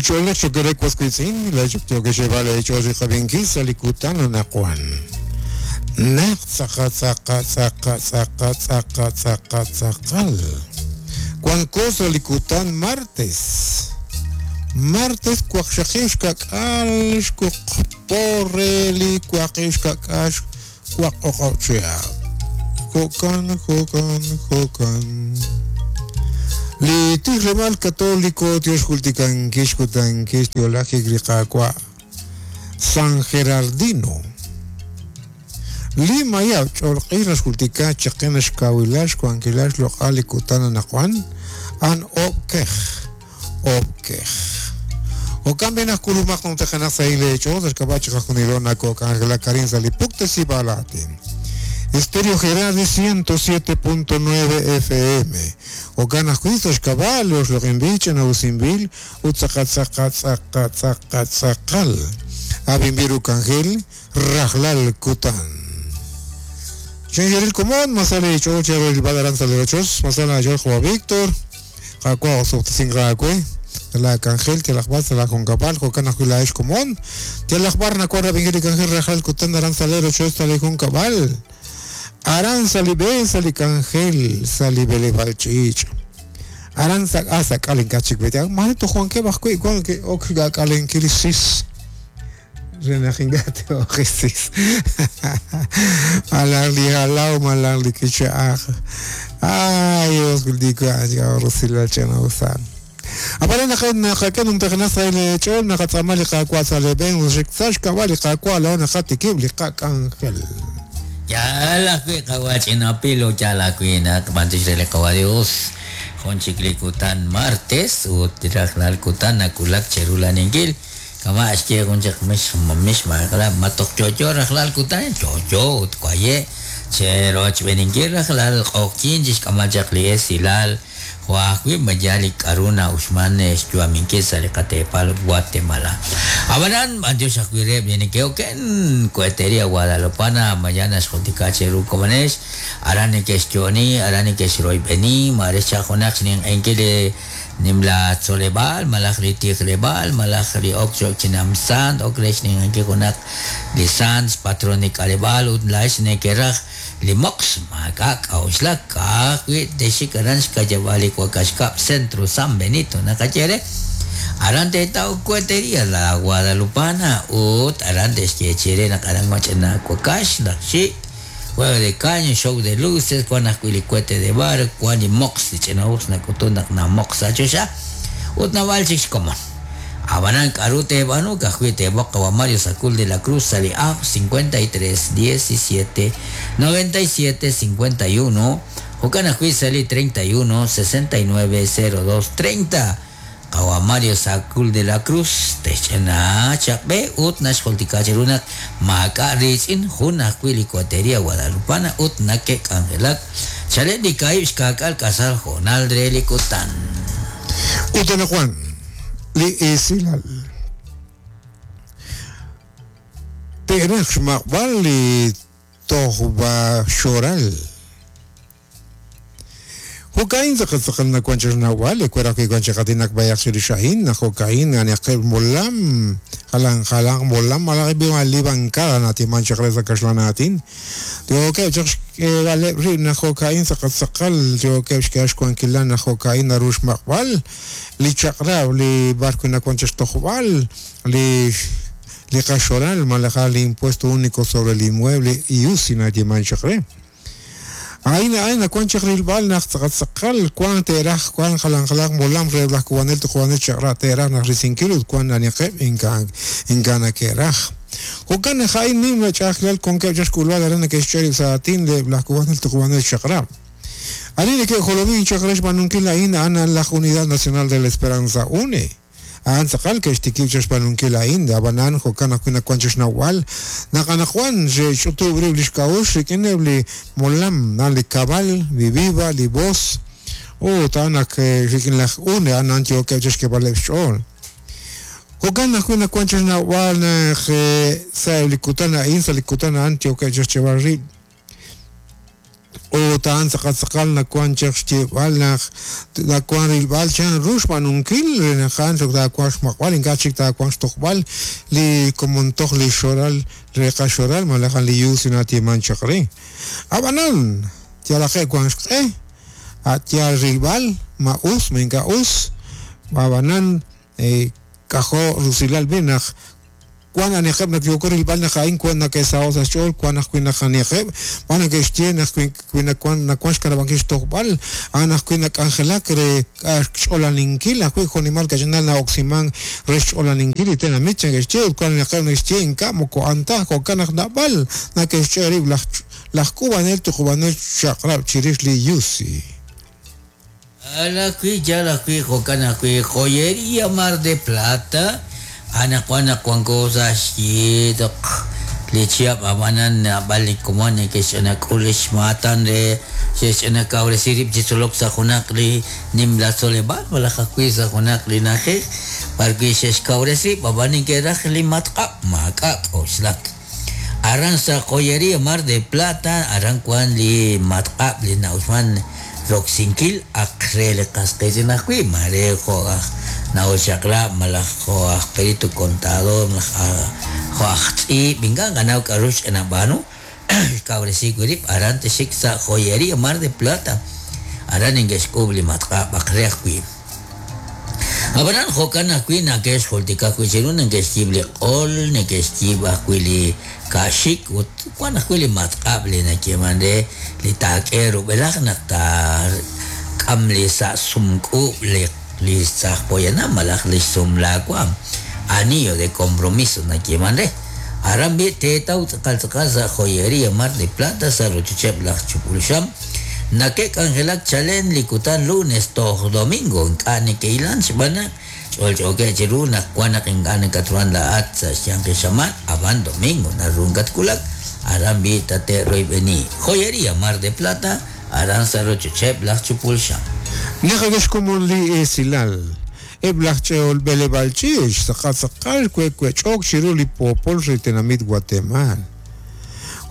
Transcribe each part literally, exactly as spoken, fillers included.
Chole chokere kwasquitzin, la chokte chosi jabinkisa likutano nakuan. Nak tzaka tzaka tzaka tzaka tzaka tzaka tzakal. Cuan cosa likutan martes. Martes cuaxaxish kakal porreli cuaxish kakash cuacochea. Jocan, jocan, jocan. Li tijlemal católico Dios jultican kishkutan kishtiolaje griqaqua San Gerardino. Lima ya cholqiras jultica chaqenash kawilash kuankilash loqali kutana naquan an obkej obkej. O cambien a kulumaq no tejanas ahí le hecho del cabacho jajunilona coca Karin salipukte balatin. Estéreo Gerardi ciento siete punto nueve F M. O ganas juicios caballos, lo envichen a Usimbil, Utsacatzacatzacatzacatzakal. Abimbiru Cangel, Rajlal Kutan. Chengeril Comón, Masale Chochero, el Badaranza de Ochos, Masala Jorge Víctor, Jacua Osoptisingracue, la Cangel, Telakbar, la Concapal, Jocana Julaesh Comón, Telakbar, Nacuara, Bingel, Cangel, Rajlal Kutan, Aranza de Ochos, Talejun Cabal. Aranza libe salicangel salibele balchich. Aranza asa kalenkachik bete. Manito Juan que bajo igual que okga kalenkilisis. Renajingate ojisis. Malarli alao malarli kicha. Ay, Dios digo ay rosila chena usan. Aparena que na que un ternaza el chon na katsamali ka kwasale ben ushiksash kawali ka kwala na katikibli ka kangel. Ya la que kawachina pilo ya la cuina mantis de kawa Dios con chiclicutan martes u tirajlal kutan nakulak cherula ningil kama ashke con chakmish mamish magla matok chocho rajlal kutan chocho utkuaye chero chbeningil rajlal okin jishkama chakli silal Huajwi mayali karuna usman chuaminke salecatepal Guatemala. Abanan Dios acuire viene que oken cohetería Guadalupana mañana escoticacheru comanes arane que estioni arane que sroi beni marecha jonax nin enkele nimla tsolebal malachri tiglebal malachri okcho chinamsan okresh nin enke jonak lisans patronik alebal utlash nekeraj limox makak auslak kakwi deshikaransh kajabali kuakashkap centro San Benito nakachere arante tau cuetería la Guadalupana ut arante esquechere nakarang machena kuakash nakshi juego de caño show de luces cuanacuilicuete de bar cuani mox dichenaus nakutunak na mox achosha ut navalchik como Abanan Carute Banu, Cajuite Boca Mario Sacul de la Cruz, Sali A, cincuenta y tres, diecisiete, noventa y siete, cincuenta y uno, Jocana Sali treinta y uno, sesenta y nueve, cero dos, treinta. Kawa Mario Sacul de la Cruz, Techena, Chakbe, Ut Nashkoltikacherunak, Maca Richin, Juna Cuilicuatería Guadalupana, Ut Nakek Angelak, Chalet Kaib, Kakal Casal, Jonal Drelicotan. Utana Juan. Li isilal Terach maqbal li tohba shoral Jokain zaqatzaqalna kuanchas nawal kueraqi kuanchaqatinak bayaqsirishain jokain aniaqib molam jalan jalan molam malaqi libankada natimanchaqreza kashlanatin Tioke chaq gale rina jokain zaqatzaqal tioke xkash kuankilana jokain arush maqbal li chaqrab li barco na kuanchas tojbal li li kashoral malajal impuesto único sobre el inmueble y usina timanchaqre Aina aina kuan chaqrilbal naq tzaqatzaqal kuan teraj kuan jalan jalan molam reblaj kuanel tujuanel chaqra teraj naq risinkilut kuan aniqeb inkan inkana keraj Jokan jain nim chaqlal con que chaskulwal arana que xcheri saatin de blaj kuanel tujuanel chaqra Arine que jolomin chaqresh banunkila ina ana la Unidad Nacional de la Esperanza UNE An tzaqal que xtikib chashpanunkila inda abanan jokana kuina kuanchash nawal naqanajuan xe xutubrib lixkaush rikinebli molam nan li cabal li viva li voz o tanak rikin laj une anan tioke chashkebaleb xch'ol Jokana kuina kuanchash nawal xe sa likutana in sa likutana an tioke chashchebarri Utan tzaqal nakuan chaq xyeeb'al naq nakuan rilb'al chan ru xb'aanunkil re naq a'an taawanq xmaq'b'al ink'a' chik taawanq xtojb'al li komontoj li xoral re qaxoral malaj li yusi natieman chaq re. Ab'anan yalaqe' wan xq'e a' yal rilb'al ma us ma ink'a' us ab'anan k'ajo' rusilal b'i naq wan aniqeb' naq yooko rilb'al naq a'in wan nake'saho' sa' xch'ool wan ajwi' naq aniqeb' wan nake'xye naq wi nawan nawan xkanab'ankil xtojb'al a'an ajwi' nak'anjelak re xch'olaninkil ajwi' jo'nimal kach'inal na'oksiman re xch'olaninkil li tenamit nake'xye ut wan aniqeb' nake'xye ink'a' moko a'an taj jo'kan naq nab'al nake'xch'e rib' laj laj k'ub'anel tuqub'anel xaqrab' chirix li yusi. Alajwi' yal ajwi' jo'kan ajwi' Joyería Mar de Plata ana wan wanko sa xyiitoq li chihab' ab'anan nab'al li komon neke'xch'anak'ul xmaatan re xe'xch'anakawresi rib' chi tzolok sa' junaq li nimla tzoleb'aal malaj ajwi' sa' junaq li na'ajej b'arwi' xe'xkawresi rib' ab'an neke'raj li matq'ab' maak'a' k'oxlak. Aran sa' Joyería Mar de Plata aran wan li matq'ab' li na'uxman roksinkil aq re li qas qiitz'in ajwi' mare jo' aj na'uxaqrab' malaj jo' aj perito contador malaj jo' aj tz'iib' ink'a' qanaw k'a'ru xch'anab'aanu xkawresi wi' rib' aran tixik sa' Joyería Mar de Plata aran neke'xk'uub' li matq'ab' aq re ajwi'. Ab'anan jo'kan ajwi' nake'xjultika ajwi' chiru neke'xyiib' li q'ol neke'xyiib' ajwi' li ka'xik ut wan ajwi' li matq'ab' li nayeeman re li taak'e rub'elaj naq taak'am li sa' sumk'uub' li li saj poyanam malaj li xsumlaawaam anillo de compromiso nayeeman re. Aran b'i teetaw tz'aqal tz'aqal sa' Joyería Mar de Plata sa' rochocheb' laj Chupulxam nake'k'anjelak chalen li kutan lunes toj domingo ink'a' neke'ilan xb'aan naq ch'olch'ookeb' chiru naq wan naq ink'a' nakatruhan la'at sa' xyanq xamaan ab'an domingo naru nkatkulak aran b'i tate'royb'eni. Joyería Mar de Plata aran sa' rochocheb' laj Chupulxam. Naqak'exkomon li esilal eb' laj ch'eol b'eleb'aal ch'iich' tz'aqal tz'aqal kue'kuech'ok chiru li poopol re tenamit Guatemala.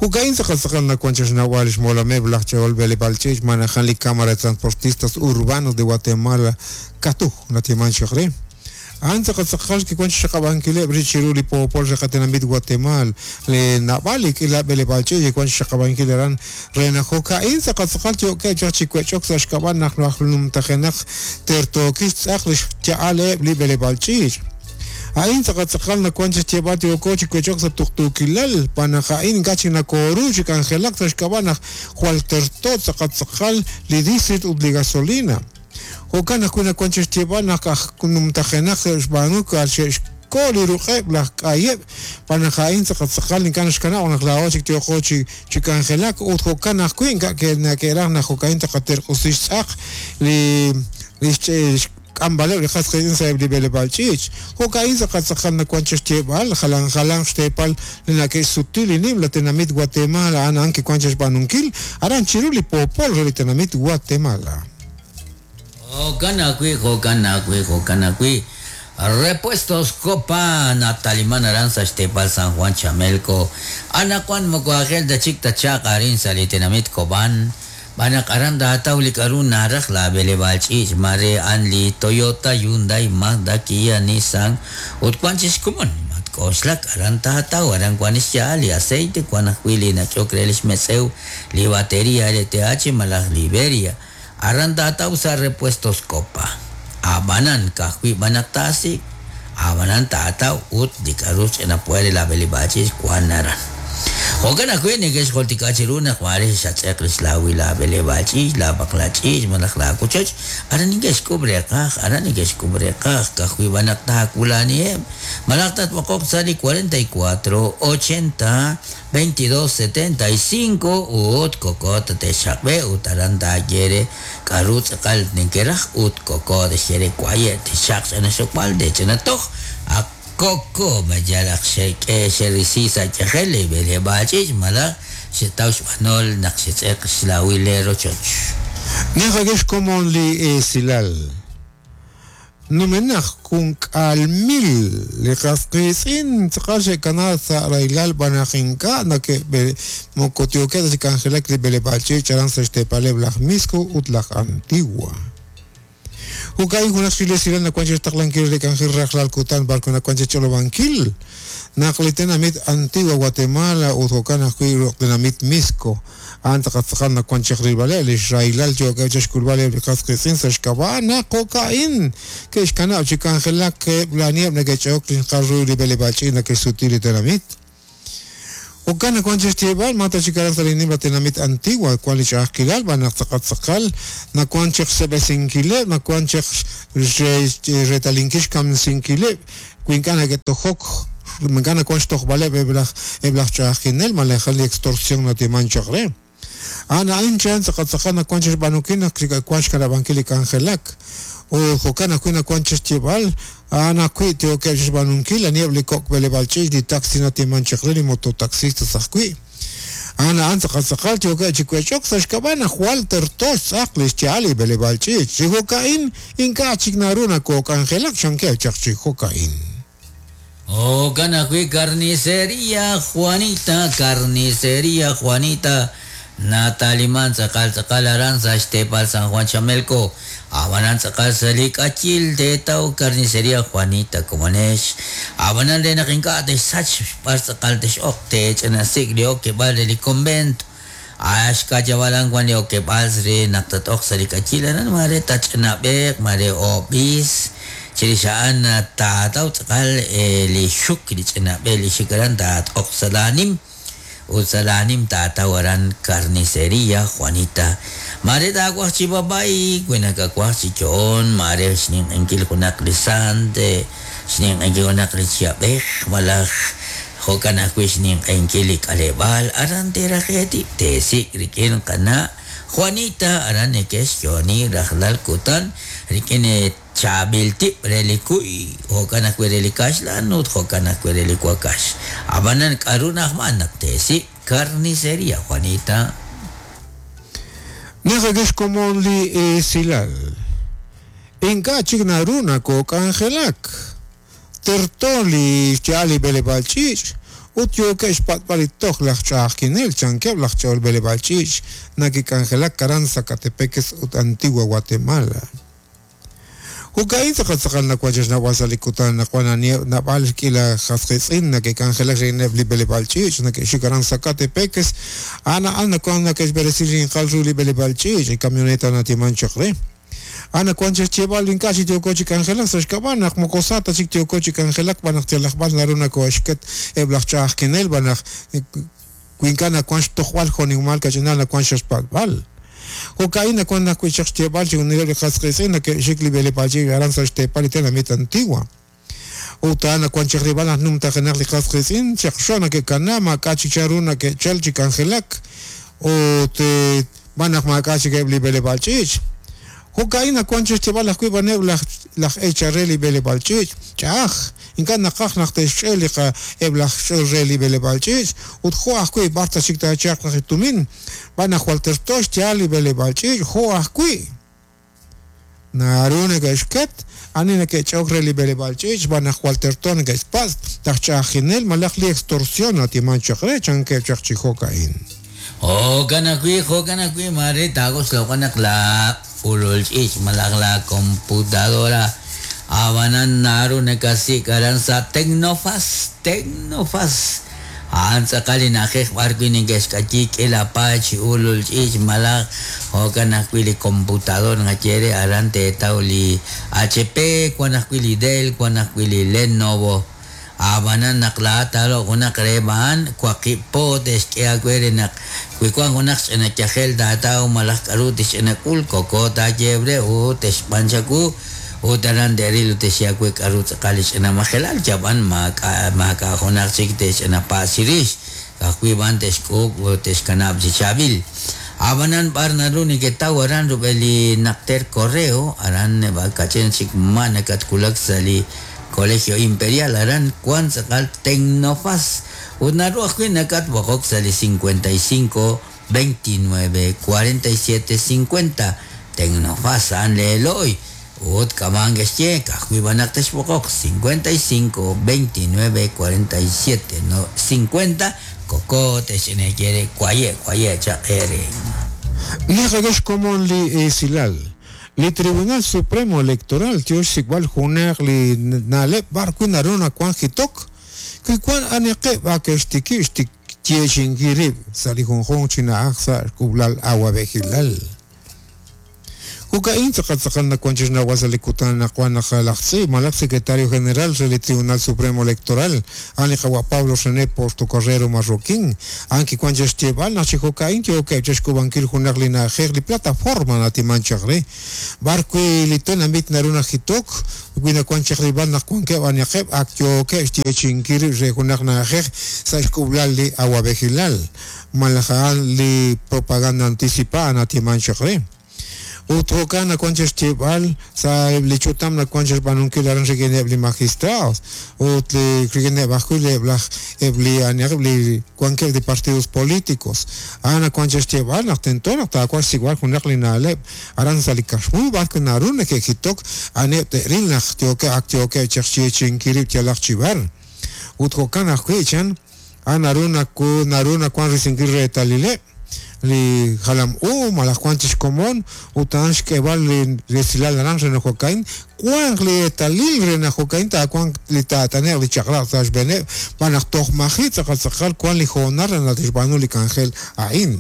Jo'ka'in tz'aqal tz'aqal nakuan chixnawal xmolameb' laj ch'eol b'eleb'aal ch'iich' manajan li Cámara de Transportistas Urbanos de Guatemala katuj natieman chaq re. A'an tz'aqal tz'aqal kikuan xxaqab'ankileb' ri chiru li poopol re qatenamit Guatemala li nab'al li k'ila b'eleb'aal ch'iich' kikuan xxaqab'ankil aran re naq jo'ka'in tz'aqal tz'aqal yo'keb' chaq chi kuech'ok sa' xk'ab'a' naq laj numtajenaq tertookil xtz'aq li xya'aleb' li b'eleb'aal ch'iich'. A'in tz'aqal tz'aqal nakuan chixyeeb'al yooko chi kuech'ok sa' tuqtuukilal panaq a'in ink'a' chik nakooru chi k'anjelak sa' xk'ab'a' naq jwal terto tz'aqal tz'aqal li diesel ut li gasolina. Jo'kan ajwi' nakuan chixyeeb'al naq aj numtajenaq xb'aanu xe'xko li ruq'eb' laj k'ayeb' panaq a'in tz'aqal tz'aqal ink'a' naxkanab' naq laa'o chik tyooko chi chi k'anjelak ut jo'kan ajwi' ink'a' nake'raj naq jo'ka'in taqaterq'usi xtz'aq li li k'ambaleb' li qas qiitz'in sa'eb' li b'eleb'aal ch'iich'. Jo'ka'in tz'aqal tz'aqal nakuan chixyeeb'al jalan jalan xteepal li nake'xsuti li nimla tenamit Guatemala a'an a'an kikuan chixb'aanunkil aran chiru li poopol re li tenamit Guatemala. Jo'kan ajwi' jo'kan ajwi' jo'kan ajwi' Repuestos Copa nataliman aran sa' xteepal San Juan Chamelco anaqwan moko ajel ta chik tachaq arin sa' li tenamit Cobán b'anaq aran taataw li k'a'ru naraj la b'eleb'aal ch'iich' mare an li Toyota, Hyundai, Mazda, Kia, Nissan ut wan chi xkomon matk'oxlak aran taataw aran wan xya'al li aceite wan ajwi' li nach'ok re li xmetz'ew li batería L T H malaj Liberia aran taataw sa' Repuestos Copa. Ab'anan ka'ajwi' b'anaq taasik ab'anan taataw ut li k'a'ru xch'inapuere la b'eleb'aal ch'iich' wan aran. Jo'kan ajwi' neke'xjultika chiru naq mare xatz'eq li xlawil la b'eleb'aal ch'iich' la b'aqla ch'iich' malaj la kochoch aran neke'xk'ub' reqaj aran neke'xk'ub' reqaj ka'ajwi' b'anaq taakulaniheb' malaj tatb'oqoq sa' li cuarenta y cuatro ochenta veintidós setenta y cinco ut koko tate'xaqb'e ut aran taayere k'a'ru tz'aqal neke'raj ut koko texyere kuaye' texaq ch'anaxokb'al tech'anatoj ak koko mayalaq xe'k'e xerisi sa' yajel li b'eleb'aal ch'iich' malaj xetaw xb'anol naq xetz'eq xlawil le rochoch. Naqak'ex komon li esilal. Numenaj junk'aal mil li qas qiitz'in tz'aqal xe'kanaak sa' rahilal b'anaq ink'a' nake'b'e moko yookeb' ta chi k'anjelak li b'eleb'aal ch'iich' aran sa' xteepaleb' laj Misco ut laj Antigua. Jo'ka'in junaq li esilal nawank chi xtaqlankil li k'anjel rajlal kutan b'ar nawank chi ch'olob'ankil naq li tenamit Antigua Guatemala ut jo'kan ajwi' li tenamit Misco a'an tz'aqal tz'aqal nawank chaq rilb'aleb' li xrahilal yookeb' chi xk'ulb'aleb' li qas qiitz'in sa' xk'ab'a' naq jo'ka'in ke'xkanab' chi k'anjelak eb' lanieb' neke'ch'e'ok li xqal ru li b'eleb'aal ch'iich' neke'xsuti li tenamit. Jo'kan nawank chi xyeeb'al ma ta chik aran sa' li nimla tenamit Antigua wank li ch'a'ajkilal b'an naq tz'aqal tz'aqal nawank chaq xseb'esinkileb' nawank chaq retalinkil xkamsinkileb' wi ink'a' neke'tojok ink'a' nawank xtojb'aleb' eb' laj eb' laj ch'a'ajkinel malaj li extorsión natiman chaq re. A'an a'in chan tz'aqal tz'aqal nawank chi xb'aanunkil naq wank xkanab'ankil li k'anjelak. Ut jo'kan ajwi' nawank chi xyeeb'al a'an ajwi' yookeb' chi xb'aanunkil aniheb' li kok' b'eleb'aal ch'iich' li taxi natiman chaq re li mototaxistas ajwi'. A'an a'an tz'aqal tz'aqal yookeb' chi wech'ok sa' xk'ab'a' naq jwal terto xtz'aq li xya'al li b'eleb'aal ch'iich'. Chi jo'ka'in ink'a' chik naru nakook'anjelak chankeb' chaq chi jo'ka'in. Jo'kan ajwi' carnicería Juanita, carnicería Juanita nataliman tz'aqal tz'aqal aran sa' xteepal San Juan Chamelco. Abanan tz'aqal sa' li k'achil teetaw carnicería Juanita komonex. Abanan re naq ink'a' texsach b'ar tz'aqal tex'oq teech'anasik li okeb'aal re li convento. Axk'ayabalan wan li okeb'aal re naq tat'oq sa' li k'achil aran mare tach'anab'eq mare ob'is. Chirix a'an taataw tz'aqal li xuk li ch'anab'e li xik aran taat'oq sa' laanim. Ut sa' laanim taataw aran carnicería Juanita. Mare taawaj chi babay, wi nakawaj chi yo'on, mare xninq'enkil junaq li sant, xninq'enkil junaq li chiab'ej, malaj jo'kan ajwi' xninq'enkil li k'aleb'aal, aran terajeti teesik' rik'in qana' Juanita, aran neke'xyo'oni rajlal kutan rik'in chaab'il tib' re li kuy, jo'kan ajwi' re li kaxlan ut jo'kan ajwi' re li wakax. Ab'anan k'aru na'ajman naq teesik' carnicería Juanita. Naq xkomon li esilal. Ink'a' chik naru nakook'anjelak. Terto li xya'al li b'eleb'aal ch'iich' ut yookeb' xpat'b'al li toj laj ch'a'ajkinel chankeb' laj ch'ol b'eleb'aal ch'iich' nakik'anjelak aran Sacatepéquez ut Antigua Guatemala. Jo'ka'in tz'aqal tz'aqal nawank chi xnawb'al sa' li kutan naq wan nab'al k'ila qas qiitz'in nake'k'anjelak rik'ineb' li b'eleb'aal ch'iich' nake'xik aran Sacatepéquez a'an a'an nawank nake'xb'eresi rinqal ru li b'eleb'aal ch'iich' li camioneta natiman chaq re. A'an nawank chi xyeeb'al ink'a' chik yooko chi k'anjelak sa' xk'ab'a' naq moko sa ta chik yooko chi k'anjelak b'an naq yalaq b'ar naru nakoxket eb' laj ch'a'ajkinel b'an naq wi ink'a' nawank xtojb'al jo'nimal kach'inal nawank xpat'b'al. Jo'ka'in nawank ajwi' chaq xyeeb'al chi junileb' li qas qiitz'in nake'xik li b'eleb'aal ch'iich' aran sa' xteepal li tenamit Antigua. Ut a'an nawank chaq rilb'al naq numtajenaq li qas qiitz'in chaq xo nake'kana maak'a' chik chanru nake'chal chi k'anjelak ut b'an naq maak'a' chik eb' li b'eleb'aal ch'iich'. Jo'ka'in nawank chi xyeeb'al ajwi' b'aneb' laj laj eechal re li b'eleb'aal ch'iich' ch'a'aj ink'a' naqaj naq te'xch'e li qa eb' laj ch'ol re li b'eleb'aal ch'iich' ut jo' ajwi' b'ar ta chik taachaq laj tumin b'an naq jwal terto xya'al li b'eleb'aal ch'iich' jo' ajwi' naru neke'xket ani neke'ch'ok re li b'eleb'aal ch'iich' b'an naq jwal terto neke'xpatz' laj ch'a'ajkinel malaj li extorsión natiman chaq re chankeb' chaq chi jo'ka'in. Jo'kan ajwi' jo'kan ajwi' mare taagox naq la ulul ch'iich' malaj la computadora abanan naru nakasik aran sa Tecnofaz, Tecnofaz. A'an tz'aqal li na'ajej b'ar wi' neke'xk'ayi k'ila paay ulul ch'iich' malaj jo'kan ajwi' li computador naqaye re aran teetaw li H P, wan ajwi' li Dell, wan ajwi' li Lenovo. Abanan naq laa'at taaloq junaq reheb' a'an waqib' po te'xk'e aawe re naq wi wan junaq ch'ina yajel taataw malaj k'aru tixch'inak'ul koko taayeeb' re ut te'xb'an chawu ut aran te'ril ut te'xye aawe k'aru tz'aqal li ch'ina majelal yab'an maak'a' maak'a' junaq chik te'xch'inapaas chirix ka'ajwi' b'an te'xk'uub' ut te'xkanab' chi chaab'il. Abanan b'ar naru neketaw aran rub'el li naqter correo aran kach'in chik ma nakatwulak sa' li Colegio Imperial aran wan tz'aqal Tecnofaz ut naru ajwi' nakatb'oqok sa' li cincuenta y cinco veintinueve cuarenta y siete cincuenta Tecnofaz a'an leelo'y Ut kaman kexye kajwi banak texb'oqoq cincuenta y cinco, veintinueve, cuarenta y siete, no, cincuenta koko texineyere kwaye kwaye chaqere. Naqagex komon li esilal. Li Tribunal Supremo Electoral tiox sikb'al junaq li na'leb' b'ar wi naru nawan jitok wi wan aniqeb' akextiki xtik yexinkirib' sa' li junjunq chi na'aj sa' xk'ub'lal awab'ejilal. Jo'ka'in tz'aqal nawan chi xnawb'al sa' li kutan naqwan naq laj tz'iib' malaj secretario general re li Tribunal Supremo Electoral a'an li qawa' Pablo René Portocarrero Marroquín a'an kiwan chi xyeeb'al naq chi jo'ka'in yookeb' chi xk'ub'ankil junaq li na'ajej li plataforma natiman chaq re b'ar wi li tenamit naru najitok wi nawan chaq rib'al naq wankeb' aniqeb' ak yookeb' xyeechinkil re junaq na'ajej sa' xk'ub'lal li awab'ejilal malaj a'an li propaganda anticipada natiman chaq re. Ut jo'kan nawan chi xyeeb'al sa' li ch'utam nawan chi xb'aanunkil aran rik'ineb' li magistrados ut li rik'ineb' ajwi' eb' laj eb' li aniqeb' li wankeb' li partidos políticos a'an nawan chi xyeeb'al naq tento naq taawan xsik'b'al junaq li na'leb' aran sa' li kaxmu b'ar wi naru neke'jitok a'aneb' te'ril naq yookeb' ak yookeb' chaq xyeechinkil rib' yalaq chi b'ar. Ut jo'kan ajwi' chan a'an naru naku naru nawan risinkil reetalileb' li jalam u malaj wan chi xkomon ut a'an xk'eeb'al li resilal aran re naq jo'ka'in wanq li eetalil re naq jo'ka'in taawanq li taat'ane'q li chaq'rab' sa' xb'eeneb' b'an naq toj maji' tz'aqal tz'aqal wan li hoonal re naq tixb'aanu li k'anjel a'in.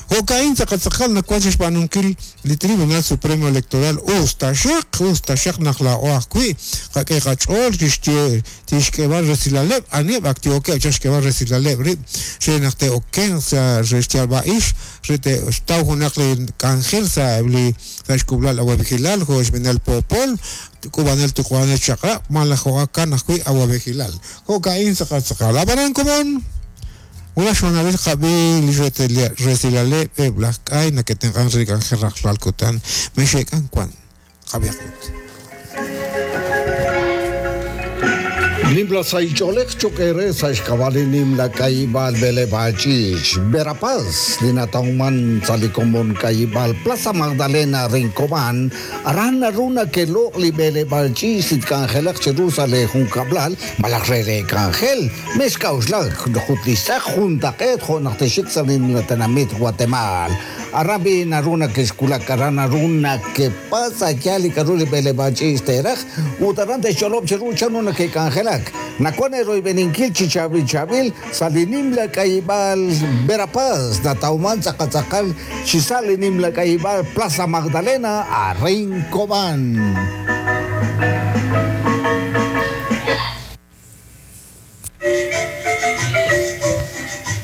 Jo'ka'in tz'aqal tz'aqal nawan chi xb'aanunkil li Tribunal Supremo Electoral us taxaq us taxaq naq laa'o ajwi' qak'e qach'ool tixye tixk'eeb'al resilaleb' aneb' ak yookeb' chaq xk'eeb'al resilaleb' rib' re naq te'okenq sa' re xyalb'a'ix re te'xtaw junaq li k'anjel sa' li sa' xk'ub'lal awab'ejilal jo' xb'eenal poopol k'ub'anel tuq'wanel chaq'rab' malaj jo'kan ajwi' awab'ejilal. Jo'ka'in tz'aqal tz'aqal ab'anan komon Una xonalil qab'i li resilaleb' eb' laj k'ay nake'tenq'an re li k'anjel rajlal kutan mexe'k'an wan qab'iaqut. Nimla saich'oolej choq' re sa' xk'ab'a' li nimla k'ayib'aal B'eleb'aach'ich Verapaz li natawman sa' li komon k'ayib'aal Plaza Magdalena Rincobán aran naru nake'loq' li b'eleb'aach'ich li tk'anjelaq chiru sa' li junkab'lal malaj re re k'anjel mexk'a'uxlak jut li xtz'aq juntaq'eet jo' naq texik sa' nimla tenamit Guatemala aran bi naru nake'xkulak aran naru nakepasa yal li k'aru li b'eleb'aach'ich te'raj ut aran te'xch'olob' chiru chan ru nake'k'anjelak Nakuan eroibeninkil chichabil chabil sa' li nimla k'ayib'aal Verapaz natawman tz'aqal chi sa' li nimla k'ayib'aal Plaza Magdalena a Rincobán.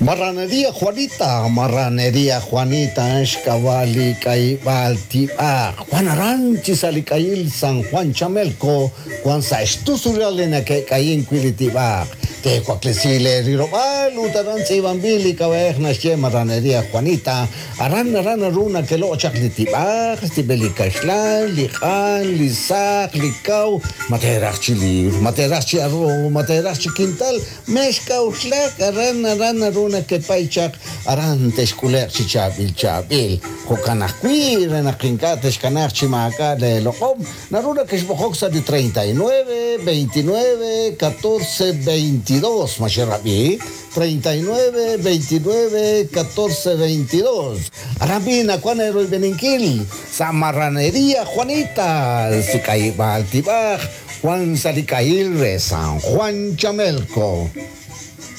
Marranería Juanita, Marranería Juanita, Xkabali, Kaibal, Tiba, Juan Aranchi, Salikayil, San Juan Chamelco, Juan Saxtusuralena, que Caín Quilitiba, Tecuaclesile, Rirobal, Utaran, Sibambili, Cabej, Naxie, Marranería Juanita, Aran, Aran, Aruna, que lo Chaclitiba, Stibelicaxlan, Lijan, Lizac, Licau, Materach Chilir, Materach Chiarro, Materach Chiquintal, Mexca, Uxlac, Aran, Aran, Aruna, que paichak aran texkuler chichabil chabil jokanajwi renaqinka texkanaj chimaka de loqom naruna que xbojoxa de treinta y nueve, veintinueve, catorce, veintidós maxerabi treinta y nueve, veintinueve, catorce, veintidós Arabina Juanero y Beninquil Samarranería Juanita Sicaibal Tibaj Juan Salicail de San Juan Chamelco.